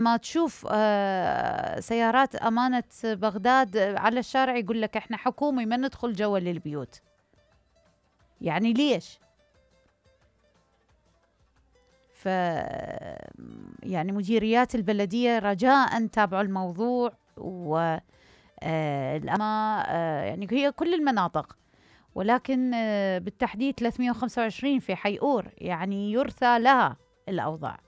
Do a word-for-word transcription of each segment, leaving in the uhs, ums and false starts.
ما تشوف آه سيارات أمانة بغداد على الشارع يقول لك احنا حكومي ما ندخل جوا للبيوت. يعني ليش؟ ف يعني مديريات البلدية رجاء تابعوا الموضوع، و آه الأما آه يعني هي كل المناطق، ولكن آه بالتحديد ثلاثمئة وخمسة وعشرين في حيئور، يعني يرثى لها الأوضاع.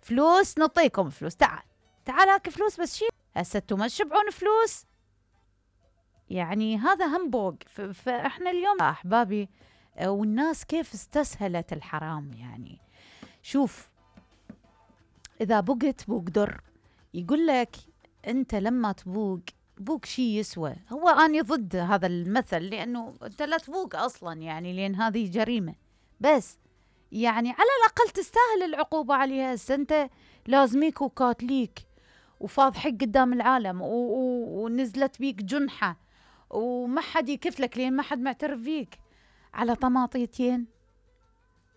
فلوس نعطيكم فلوس، تعال تعال هاك فلوس بس شيل، هسه انتم ما تشبعون فلوس. يعني هذا هم بوق. فاحنا اليوم احبابي والناس كيف استسهلت الحرام. يعني شوف، اذا بقت بوق در، يقول لك انت لما تبوق بوق شي يسوى. هو اني ضد هذا المثل، لانه انت لا تبوق اصلا، يعني لان هذه جريمه، بس يعني على الاقل تستاهل العقوبه عليها. هسه انت لازميك وكاتليك وفاضحك قدام العالم، ونزلت بيك جنحه وما حد يكفلك لين ما حد معترف فيك، على طماطيتين،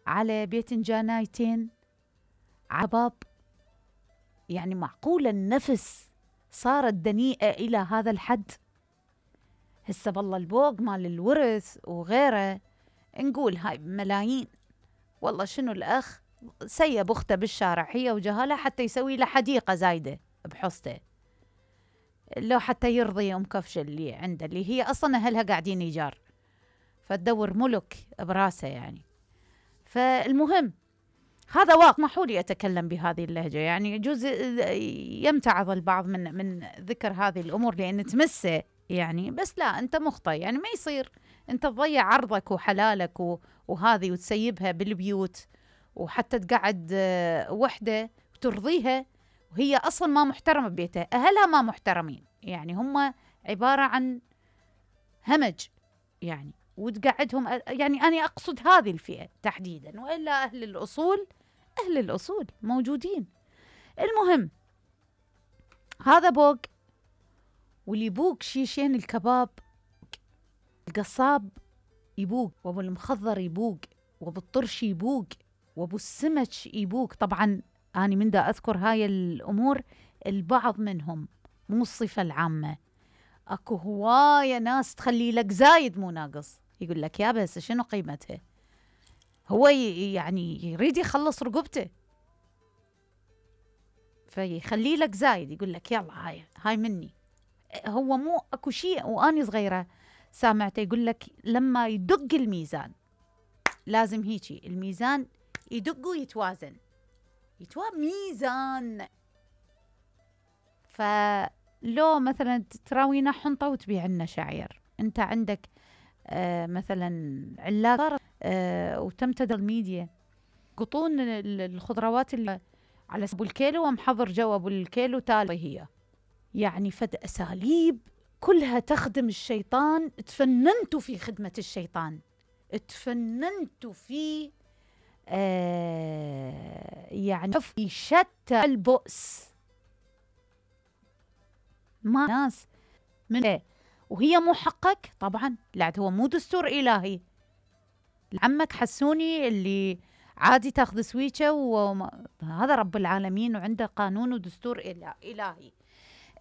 على بيتنجانايتين، عباب. يعني معقولة النفس صارت دنيئة إلى هذا الحد؟ هسه بالله البوق مال الورث وغيره نقول هاي ملايين. والله شنو الأخ سيب أخته بالشارع هي وجهالها حتى يسوي له حديقة زايدة بحصته، لو حتى يرضي أم كفشة اللي عنده، اللي هي أصلا أهلها قاعدين إيجار، فتدور ملك براسه يعني. فالمهم هذا واقع. اسمحوا لي أتكلم بهذه اللهجة، يعني يجوز يمتعض البعض من من ذكر هذه الأمور لأن تمسه يعني، بس لا، أنت مخطئ. يعني ما يصير أنت تضيع عرضك وحلالك وهذه وتسيبها بالبيوت، وحتى تقعد وحدة وترضيها وهي أصلا ما محترمة ببيتها، أهلها ما محترمين، يعني هم عبارة عن همج يعني، وتقعدهم. يعني أنا أقصد هذه الفئة تحديدا، وإلا أهل الأصول أهل الأصول موجودين. المهم هذا بوق، واللي يبوق شيشين الكباب، القصاب يبوق، وابو المخضر يبوق، وابو الطرش يبوق، وابو السمك يبوق. طبعا أنا من دا أذكر هاي الأمور، البعض منهم مو الصفة العامة. أكو هواية ناس تخلي لك زايد مو ناقص، يقول لك يا بس شنو قيمتها، هو يعني يريد يخلص رقبته فيخلي لك زايد، يقول لك يلا هاي هاي مني. هو مو أكو شيء. وأني صغيرة سامعته يقول لك لما يدق الميزان، لازم هيجي الميزان يدق ويتوازن، يتوازن ميزان. فلو مثلا تراوينا حنطة وتبيع لنا شعير، انت عندك آه مثلا علاقة آه وتمتد الميديا، قطون الخضروات اللي على ابو الكيلو ومحضر جو ابو الكيلو تالي، هي يعني فد اساليب كلها تخدم الشيطان. تفننتوا في خدمة الشيطان، تفننتوا في آه يعني في شتى البؤس. ما ناس من إيه؟ وهي مو حقك طبعا، لا هو مو دستور إلهي. عمك حسوني اللي عادي تاخذ سويتشة، وهذا رب العالمين وعنده قانون ودستور إلهي.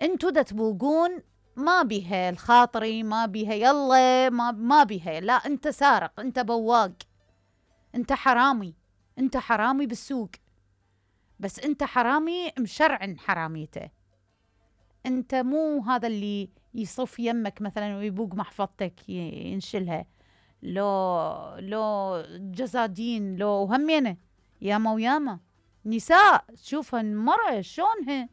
انتوا دا تبوقون ما بيها الخاطري، ما بيها يلا، ما, ما بيها، لا انت سارق، انت بواق، انت حرامي، انت حرامي بالسوق، بس انت حرامي مشرع حراميته. انت مو هذا اللي يصف يمك مثلا ويبوق محفظتك ينشلها، لو لو جزادين، لو همينه ياما وياما نساء تشوفها المرأة شلونها،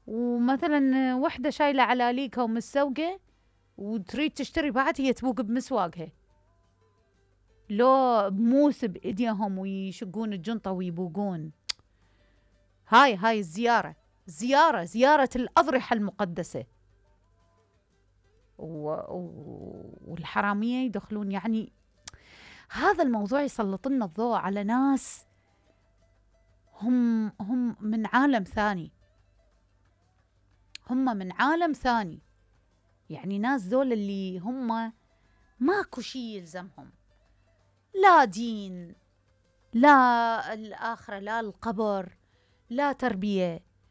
ومثلا وحدة شايلة علاليكها ومسوقة وتريد تشتري بعد، هي تبوق بمسواقها، لو بموس بإيديهم ويشقون الجنطة ويبوقون. هاي هاي الزيارة، زيارة زيارة الأضرحة المقدسة. و... والحرامية يدخلون. يعني هذا الموضوع يسلط لنا الضوء على ناس هم هم من عالم ثاني، هم من عالم ثاني. يعني ناس ذول اللي هم ماكو شيء يلزمهم، لا دين، لا الآخرة، لا القبر، لا تربية،